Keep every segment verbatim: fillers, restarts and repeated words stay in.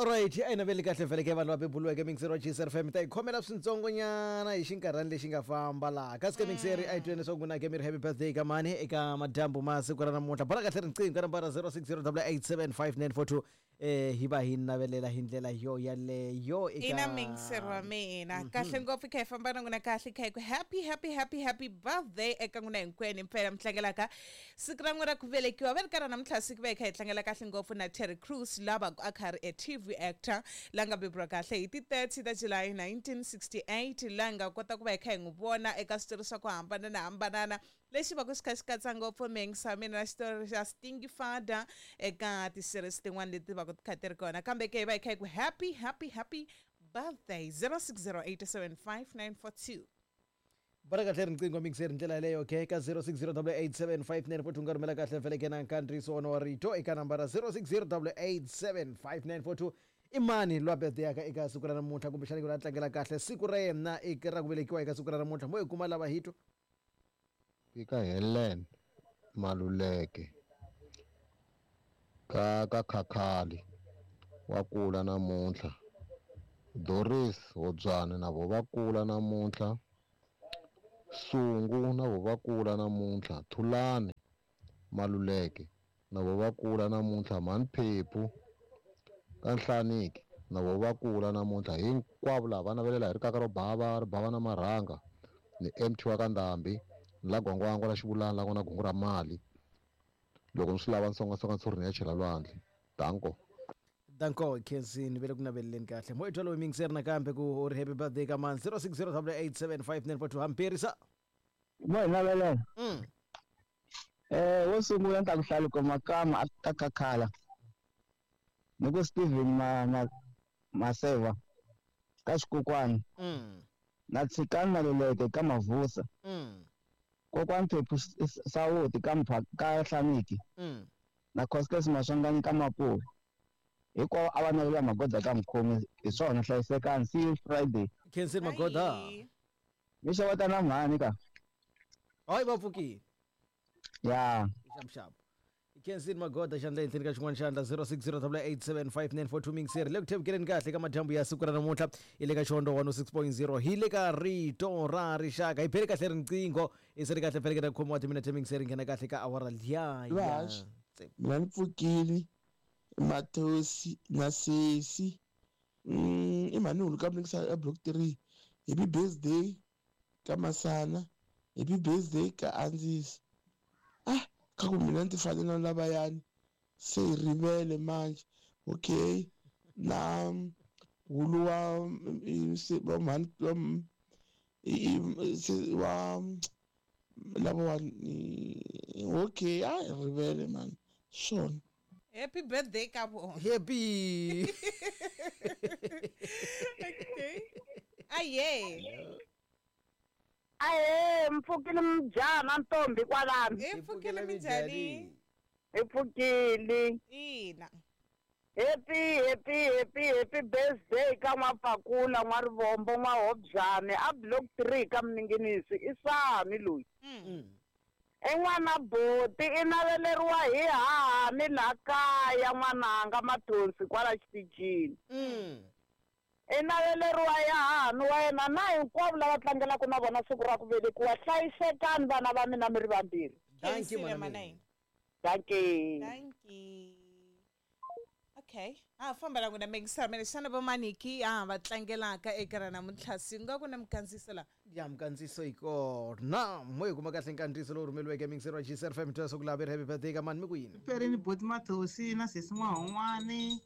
Alright, a yi naveli kahle vhele ke vanhu va bebuluweke mixeri wa G S F M ta hi khomela swintsongonyana hi xinkarhani lexi nga famba laha kasi ke mixeri a yi tweni leswaku n'wina ke mi ri happy birthday ka mani eka madyambu ma siku ra namuntlha. Bola kahle riqingho ka nambara zero six zero eight seven five nine four two, eh hi va hi navelela hi ndlela yo yaleyo eka Ina, mixer wa mina, kahle ngopfu, kha hi famba na n'wina kahle, kha hi ku happy, happy, happy, happy birthday eka n'wina hinkwenu mpela mi tlangelaka siku ra n'wina ra ku velekiwa. Va ri karhi namuntlha siku va hi kha hi tlangela kahle ngopfu na Terry Crews, lava a kha ri a T V actor la nga beburiwa kahle hi ti thirty ta July nineteen sixty-eight, la nga kota ku va hi kha hi n'wi vona eka switori swa ku hambanana hambanana lexi va ku xi kha xi katsa ngopfu mengisa mina na xitori xa Stingy Father eka ti-series tin'wana leti va ku ti kha ti ri kona. Kambe ke hi va hi kha hi ku happy, happy, happy birthday, zero six zero eight seven five nine four two. Bola kahle riqingho mixeri ndlela yaleyo ke ka zero six zero eight seven five nine four two. Nga rhumela kahle vhele ke na nkandziyiso wona wa rito eka nambara zero six zero eight seven five nine four two. I mani lwa birthday yaka eka siku ra namuntlha, kumbexana ku la tlangela kahle siku ra yena eka ra ku velekiwa eka siku ra namuntlha? Mo hi kuma lava hi twa. Eka Helen Maluleke ka ka Khakhali wa kula namuntlha, Doris Hobyane na vo va kula namuntlha, Sungu na vo va kula namuntlha, Thulani Maluleke na vo va kula namuntlha, Mhani Phephu ka Nhlaniki na vo va kula namuntlha. Hinkwavo lava va navelela hi rikaka ro bava ri bava na marhanga ni M T wa ka Ndhambi ni la gwangwangwa la xivulani la ku na gungu ra mali. Loko ni swi lava ni songasonga ntshuri ni ya chela lwandle. Danko. Danko, khensini ve le ku naveleleni kahle. Mo hi twa loyi mingiseri nakambe ku u ri happy birthday ka mani, zero six zero eight seven five nine four two. Hampirisa. Mo hi navelela. mm. Eh wo sungula ni ta ku hlaluko Makama a ta Khakhala ni ku Steven ma ma Maseva ka Xikokwani Mm. na Tshikani Maluleke ka Mavusa, Mm. kokwani Phephu S- Sawuti ka Mpha ka Hlaniki Mm. na Costes Maswanganyi ka Mapuve. Hinkwavo a va navelela Magoda ka Mukhomi. Hi swona, hlayisekani, see you Friday. Khensini Magoda. Bye. Mi xeweta na mhani ka. Hayi, va pfukile. Ya. Xapuxapu, khensini Magoda xandla henhleni ka xin'wana xandla, zero six zero eight seven five nine four two. Mingiseri le ku thevukeleni kahle ka madyambu ya siku ra namuntlha hi le ka Xiondo one oh six point zero, hi le ka Rito ra Rixaka. Hi bele kahle riqingho hi se ri kahle feleke na khomiwa timinete. Mingiseri nghena kahle ka awara liya ya Vahaxi. Mina ni pfukile Mathosi na sesi, mm, i mhani hulu ka mnikisa a block three. Happy birthday ka Masana, happy birthday ka Andzisi. Ah, ka ku mina ni ti fane na lavayani se hi rivele manje. Okay, na hulu wa mm, se- wa mhani wa m- i- i- se- wa lavawani. Okay, a hi rivele man swona. Happy birthday ka vona. Happy. Okay, aye. Ahe, mpfukile mjana ntombi kwalano. Hi pfukile, minjhani? Hi pfukile. Ina. Happy, happy, happy, happy birthday ka N'wapfakula, N'warivombo, N'wahobyane a block three ka Mninginisi. I Sami loyi. Mm. I n'wana boti i naveleriwa hi hahani laha kaya n'wananga Mathonsi kwala xitichini. Mm. I naveleriwa ya hahani wa yena na hinkwavo lava tlangelaka na vona siku ra ku velekiwa. Hlayisekani vana va mina mi ri vambirhi. Thank you. Khensile. Mana. Mana. Dankie. Thank you. Okay, a famba la n'wina mekisa mina. Xana va maniki a va tlangelaka eka ra namuntlha siku nga ku na mikandziyiso la? Ya, mikandziyiso yi kona. Mo hi kuma kahle nkandziyiso lowu rhumeliweke mingiseri wa G S F M twa swa ku lavi ri happy birthday ka mani mi ku yini. Perini boti Mathosi na sesi N'wahon'wani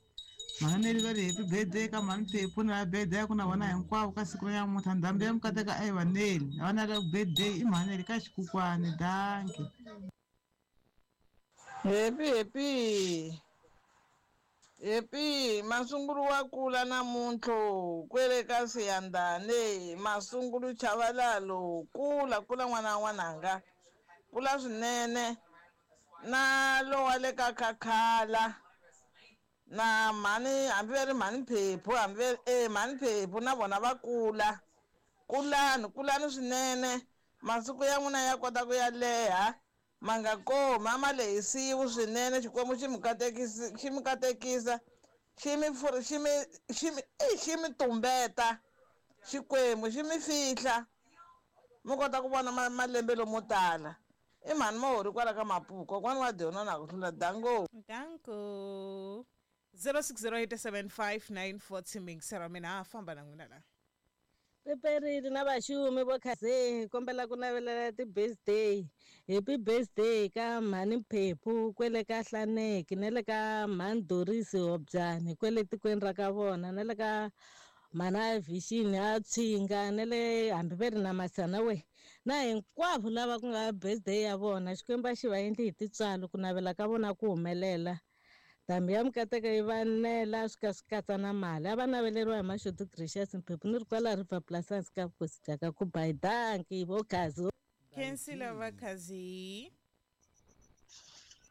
mhaneli va ri happy birthday ka mhani Phephu na birthday ku na vona hinkwavo ka siku ra namuntlha. Ndhambi ya mikateka a yi vaneli a va na la birthday i mhaneli ka Xikukwani. Danki. Happy, happy, happy Masungulu wa kula namuntlho kwele ka Siyandane. Masungulu Chavalalo, kula, kula n'wana wa n'wananga, kula swinene na lowa le ka Khakhala na mhani, hambi va ri mhani Phephu, hambi va ri e mhani Phephu na vona va kula. Kulani, kulani swinene, masiku ya n'wina ya kota ku ya leha, ma nga komi a ma lehisiwi swinene. Xikwembu xi mi katekisi, xi mi katekisa, Xi mi pfuri xi mi xi mi e xi mi tumbeta Xikwembu xi mi fihla mi kota ku vona malembe lomo tala. I mhani Mahori kwala ka Mapuku kokwana wa Diona na ku hlula dango. Danko. zero six zero eight seven five nine four two mixera mina famba na n'wina la. Peperili na vaxumi vo khaze kombela ku navelela ti-birthday. Happy birthday ka mhani Phephu kwele ka Hlaneki na le ka mhani Doris Hobyani kwele tikweni ra ka vona na le ka mhana Vision a Tshinga na le hambi ve ri na Masana we na hinkwavo lava ku nga birthday ya vona. Xikwembu a xi va endli hi tintswalo ku navela ka vona ku humelela. Ndhambi ya mikateko yi va nela swi ka swi katsa na mali. A va naveleriwa hi Mashudu Gracious Mphephu ni ri kwala River Plus hansi ka vukosi bya ka Kubai. Danki vo Khazi. Khensile va Khazi.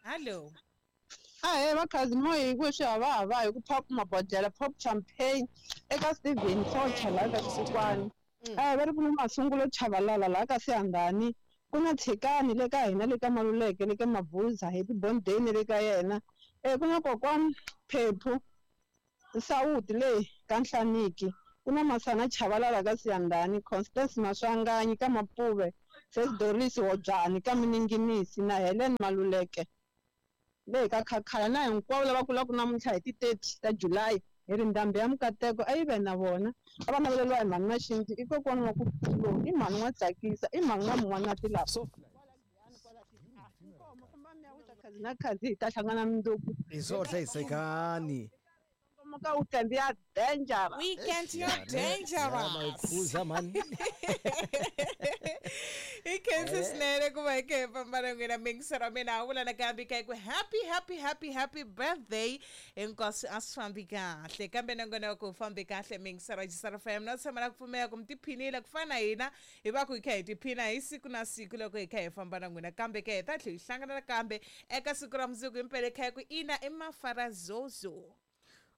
Hallo. Ahee va Khazi moya hi ku swi havahava hi ku pop mabodlela pop champagne eka Steven Socha laha ka Xisikwani. Ahee va ri ku na Masungulo Chavalala laha ka Siyandhani. Ku na Tshikani le ka hina le ka Maluleke le ka Mabuza happy birthday le ka yena. E ku na kokwana Phephu Sawuti le ka Nhlaniki. Ku na Masana Chavalala ka Siyandhani, Constance Maswanganyi ka Mapuve, Ses Doris Hobyani ka Mininginisi na Helen Maluleke le ka Khakhala na hinkwavo lava kulaka namuntlha hi ti thirty ta July hi ri ndhambi ya mikateko a yi ve na vona. A va naveleriwa hi mhani Maxinzi i kokwana wa ku i mhani wa tsakisa i mhani wa mun'wanati lava. Na Khazi hi ta hlangana mundzuku. Hi swo hlayisekani. Ka weekend ya dangerous. Weekend ya dangerous. Khuza mani. I khensi swinene ku va hi kha hi famba na n'wina mixera mina vula nakambe ka ku happy happy happy happy birthday hinkwaswo a swi fambi kahle kambe nongonoko ku fambi kahle mixera G F M na tshama na ku pfumela ku mi tiphinile ku fana na hina hi va ku hi kha hi tiphina hi siku na siku loko hi kha hi famba na n'wina kambe ke hi ta tlhela hi hlangana nakambe eka siku ra mundzuku himpela kha hi ku ina i mafarazozo.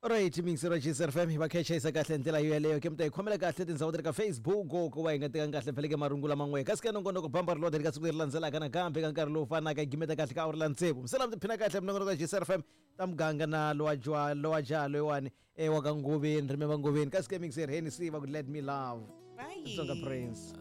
Alright, mixera G F M hi va khechayisa kahle ndlela yo yeleyo ke mi ta hi khomela kahle tindhawu ta le ka Facebook ku va hi nga tekanga kahle pheleke marungula man'we kasi ka nongonoko bamba ri lodha eka siku leri landzelaka nakambe ka nkarhi lowu fanaka hi gimeta kahle ka awara la tsevu misela mi tiphina kahle minongonoko ya G F M ta muganga na lowa jwa lowa ja loyiwani e wa ka Ngoveni rimeva Ngoveni kasi ke mixer Hennessy va ku let me love. Bye. Tsonga Prince.